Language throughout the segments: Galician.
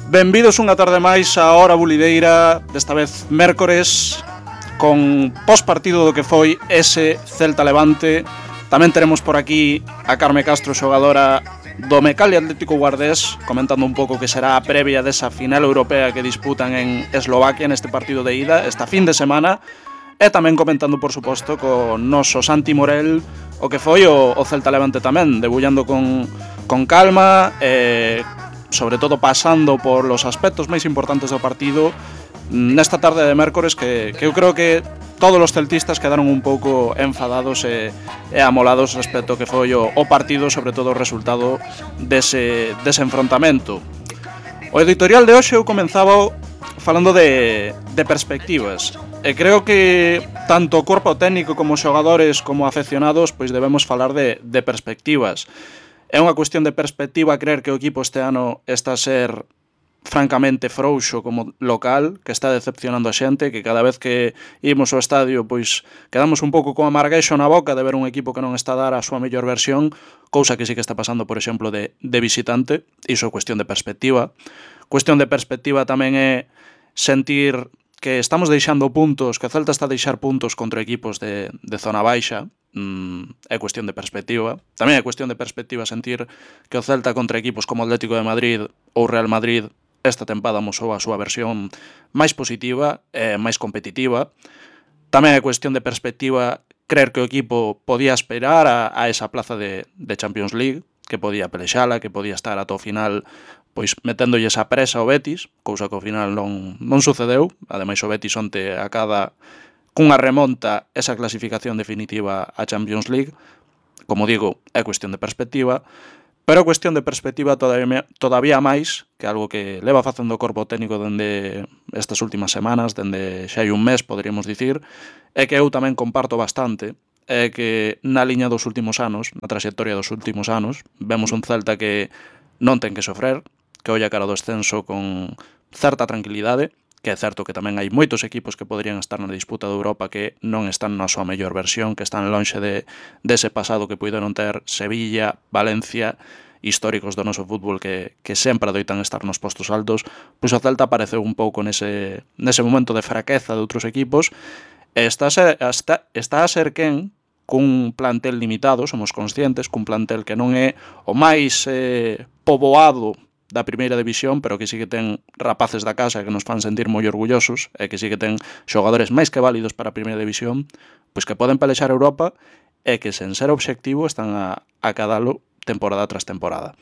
Benvidos unha tarde máis a Hora Bulideira, desta vez mércores, con pospartido do que foi ese Celta Levante. Tamén teremos por aquí a Carme Castro, xogadora do Mecalia Atlético Guardés, comentando un pouco que será a previa desa final europea que disputan en Eslovaquia neste partido de ida, esta fin de semana. E tamén comentando, por suposto, con noso Santi Morel o que foi o Celta Levante tamén, debullando con calma, sobre todo pasando por los aspectos máis importantes do partido nesta tarde de mércores que eu creo que todos os celtistas quedaron un pouco enfadados e amolados respecto ao que foi o partido, sobre todo o resultado dese enfrontamento. O editorial de hoxe eu comenzaba falando de perspectivas, e creo que tanto o corpo técnico como os xogadores como afeccionados pois debemos falar de perspectivas. É unha cuestión de perspectiva creer que o equipo este ano está a ser francamente frouxo como local, que está decepcionando a xente, que cada vez que imos ao estadio pois quedamos un pouco con amarguexo na boca de ver un equipo que non está a dar a súa mellor versión, cousa que sí que está pasando, por exemplo, de visitante. Iso é cuestión de perspectiva. Cuestión de perspectiva tamén é sentir que estamos deixando puntos, que o Celta está a deixar puntos contra equipos de zona baixa. É cuestión de perspectiva. Tamén é cuestión de perspectiva sentir que o Celta contra equipos como Atlético de Madrid ou Real Madrid esta tempada mosou a súa versión máis positiva e máis competitiva. Tamén é cuestión de perspectiva creer que o equipo podía esperar a esa plaza de Champions League, que podía pelexala, que podía estar ata o final pois meténdolle esa presa ao Betis, cousa que ao final non sucedeu. Ademais o Betis onte acada cunha remonta esa clasificación definitiva a Champions League. Como digo, é cuestión de perspectiva, pero é cuestión de perspectiva todavía máis, que algo que leva facendo o corpo técnico dende estas últimas semanas, dende xa hai un mes, poderíamos dicir, é que eu tamén comparto bastante, é que na liña dos últimos anos, na trayectoria dos últimos anos, vemos un Celta que non ten que sofrer, que olla cara do descenso con certa tranquilidade, que é certo que tamén hai moitos equipos que poderían estar na disputa de Europa que non están na súa mellor versión, que están lonxe dese pasado que puideron ter Sevilla, Valencia, históricos do noso fútbol que sempre adoitan estar nos postos altos. Pois o Celta apareceu un pouco nese momento de fraqueza de outros equipos e está a ser quen cun plantel limitado, somos conscientes, cun plantel que non é o máis poboado da primeira división, pero que sí que ten rapaces da casa que nos fan sentir moi orgullosos e que sí que ten xogadores máis que válidos para a primeira división, pois que poden pelexar a Europa e que sen ser obxectivo están a cadalo temporada tras temporada.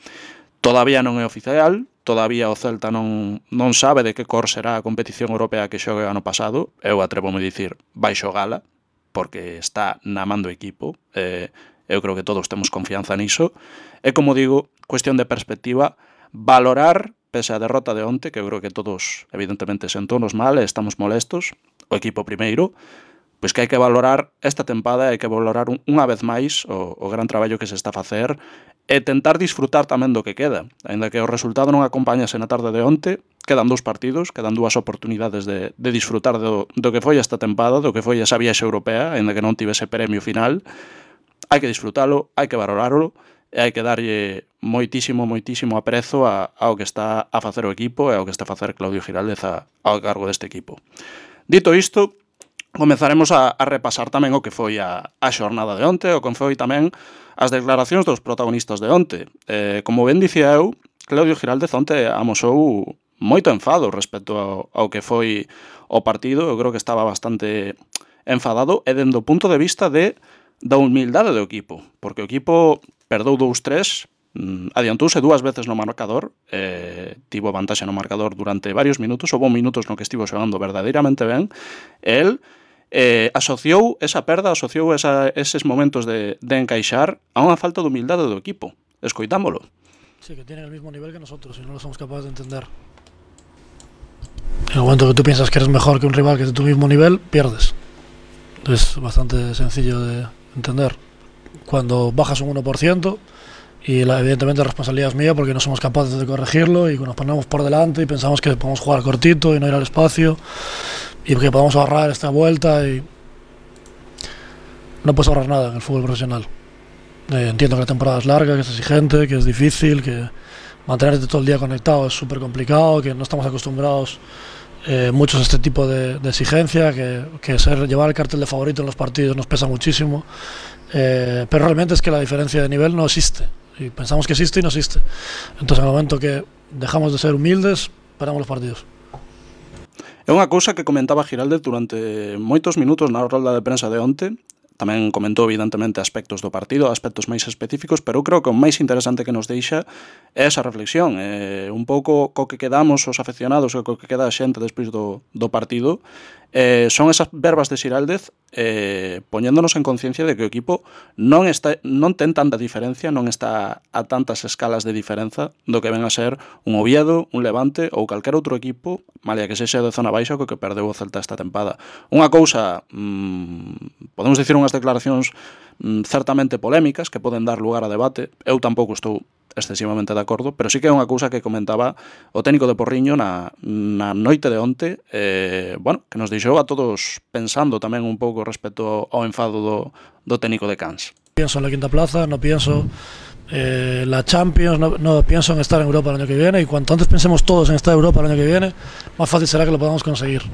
Todavía non é oficial, todavía o Celta non sabe de que cor será a competición europea que xogue ano pasado. Eu atrevo-me a dicir, vai xogala, porque está na man do equipo. Eu creo que todos temos confianza niso. E como digo, cuestión de perspectiva, valorar, pese a derrota de onte, que eu creo que todos evidentemente sentónos mal e estamos molestos, o equipo primeiro, pois que hai que valorar esta tempada, hai que valorar unha vez máis o gran traballo que se está a facer e tentar disfrutar tamén do que queda. Ainda que o resultado non acompañase na tarde de onte, quedan 2 partidos, quedan 2 oportunidades de disfrutar do que foi esta tempada, do que foi esa viaxe europea, ainda que non tivese premio final. Hai que disfrutalo, hai que valorarlo, e hai que darlle moitísimo aprezo ao que está a facer o equipo e ao que está a facer Claudio Giraldez ao cargo deste equipo. Dito isto, comezaremos a repasar tamén o que foi a xornada de onte, o que foi tamén as declaracións dos protagonistas de onte. Como ben dicía eu, Claudio Giraldez onte amosou moito enfado respecto ao que foi o partido. Eu creo que estaba bastante enfadado e dende o punto de vista da humildade do equipo, porque o equipo perdeu 2-3, adiantouse 2 veces no marcador, tivo vantaxe no marcador durante varios minutos, houve minutos no que estivo xogando verdadeiramente ben, e el asociou esa perda, asociou eses momentos de encaixar a unha falta de humildade do equipo. Escoitámolo. Sí, que tienen el mismo nivel que nosotros y no lo somos capaces de entender. En el momento que tú piensas que eres mejor que un rival que es de tu mismo nivel, pierdes. Es bastante sencillo de entender. Cuando bajas un 1% y evidentemente la responsabilidad es mía porque no somos capaces de corregirlo y nos ponemos por delante y pensamos que podemos jugar cortito y no ir al espacio y que podemos ahorrar esta vuelta y no puedes ahorrar nada en el fútbol profesional. Entiendo que la temporada es larga, que es exigente, que es difícil, que mantenerte todo el día conectado es súper complicado, que no estamos acostumbrados muchos a este tipo de exigencia, que llevar el cartel de favorito en los partidos nos pesa muchísimo, pero realmente es que la diferencia de nivel no existe, y pensamos que existe y no existe. Entonces, en el momento que dejamos de ser humildes, paramos los partidos. É unha cousa que comentaba Giraldez durante moitos minutos na rolda de prensa de onte. Tamén comentou evidentemente aspectos do partido, aspectos máis específicos, pero eu creo que o máis interesante que nos deixa é esa reflexión, un pouco co que quedamos os afeccionados e co que queda a xente despois do partido. Son esas verbas de Xiraldez poñéndonos en conciencia de que o equipo non ten tanta diferencia, non está a tantas escalas de diferenza do que ven a ser un Oviedo, un Levante ou calquer outro equipo, malia que sexa de zona baixa, co que perdeu o Celta esta tempada. Unha cousa, podemos dicir unhas declaracións certamente polémicas que poden dar lugar a debate. Eu tampouco estou excesivamente de acordo, pero sí que é unha cousa que comentaba o técnico de Porriño na noite de onte, que nos deixou a todos pensando tamén un pouco respecto ao enfado do técnico de Cans. Pienso en la quinta plaza, no pienso en la Champions, no pienso en estar en Europa el año que viene, y cuanto antes pensemos todos en estar en Europa el año que viene, más fácil será que lo podamos conseguir.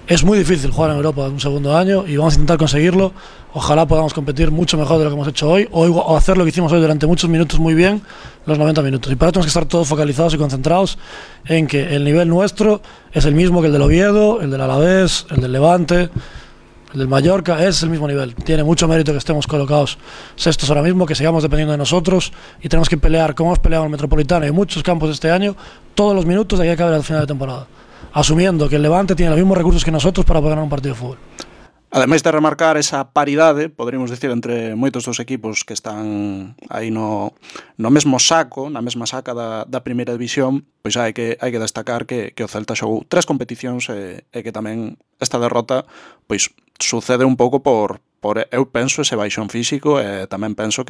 Es muy difícil jugar en Europa en un segundo año y vamos a intentar conseguirlo. Ojalá podamos competir mucho mejor de lo que hemos hecho hoy o hacer lo que hicimos hoy durante muchos minutos muy bien, los 90 minutos. Y para eso tenemos que estar todos focalizados y concentrados en que el nivel nuestro es el mismo que el del Oviedo, el del Alavés, el del Levante, el del Mallorca, es el mismo nivel. Tiene mucho mérito que estemos colocados sextos ahora mismo, que sigamos dependiendo de nosotros y tenemos que pelear como hemos peleado en el Metropolitano y en muchos campos de este año, todos los minutos de aquí a que acabe el final de temporada, asumiendo que el Levante tiene los mismos recursos que nosotros para poder ganar un partido de fútbol. Ademais de remarcar esa paridade, poderíamos dicir, entre moitos dos equipos que están aí no mesmo saco, na mesma saca da primeira división, pois hai que destacar que o Celta xogou 3 competicións e que tamén esta derrota pois sucede un pouco por eu penso ese baixón físico e tamén penso que